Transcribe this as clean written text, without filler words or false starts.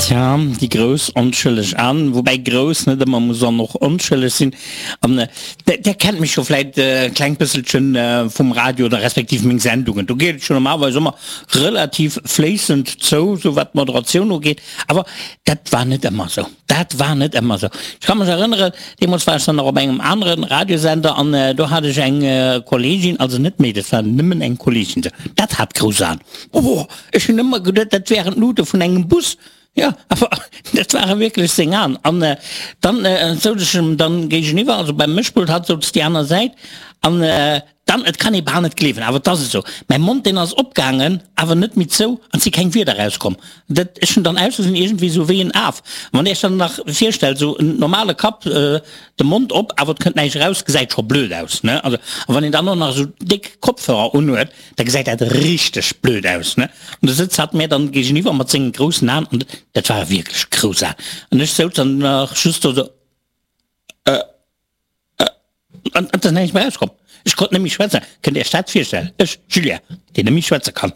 Tja, déi grouss onschëlleg An, woubäi grouss net ëmmer muss an och onschëlleg sinn. An Der kennt mech jo vläit e klengt bësselchen vum Radio oder respektiv meng Sendungen. Do geet et jo normalerweis ëmmer relativ fléissend zou, sou wat d'Moderatioun ugeet. Awer dat war net ëmmer sou. Dat war net ëmmer sou. Ech ka mech erënneren, deemools war ech dann nach op engem anere Radiosender an do hat ech eng Kolleegin, also net méi, dat war nëmmen eng Kolleegin, dat hat grouss Aen. Oh, ech hunn ëmmer geduet, dat wären d'Luute vun engem Bus. Jo, awer dat ware wierklech seng Aen. An dann souz ech em dann géigeniwwer, also beim Mëschpult, hatt souz déi aner Säit an Dann, et kann ee bal net gleewen, awer et ass esou, mäi Mond, deen ass opgaangen, awer net méi zou, an et si keng Wierder erauskomm. Dat, ech hunn dann ausgesinn iergendwéi esou wéi en Af. Wann Dir Iech dann nach virstellt, esou en normale Kapp, de Mond op, awer et kënnt näischt eraus, gesäit scho blöd aus, ne? Also, a wann een dann och nach esou déck Kopfhörer unhuet, da gesäit dat richteg blöd aus, ne? An do sëtzt hatt mär dann géigeniwwer mat sengen groussen Aen, an dat ware wierklech grouss Aen, an ech souz dann nach just do esou, Äh. An et ass näischt méi erauskomm. Ech konnt net méi schwätzen. Kënnt Dir Iech dat virstellen? Ech, Julien, deen net méi schwätze kann.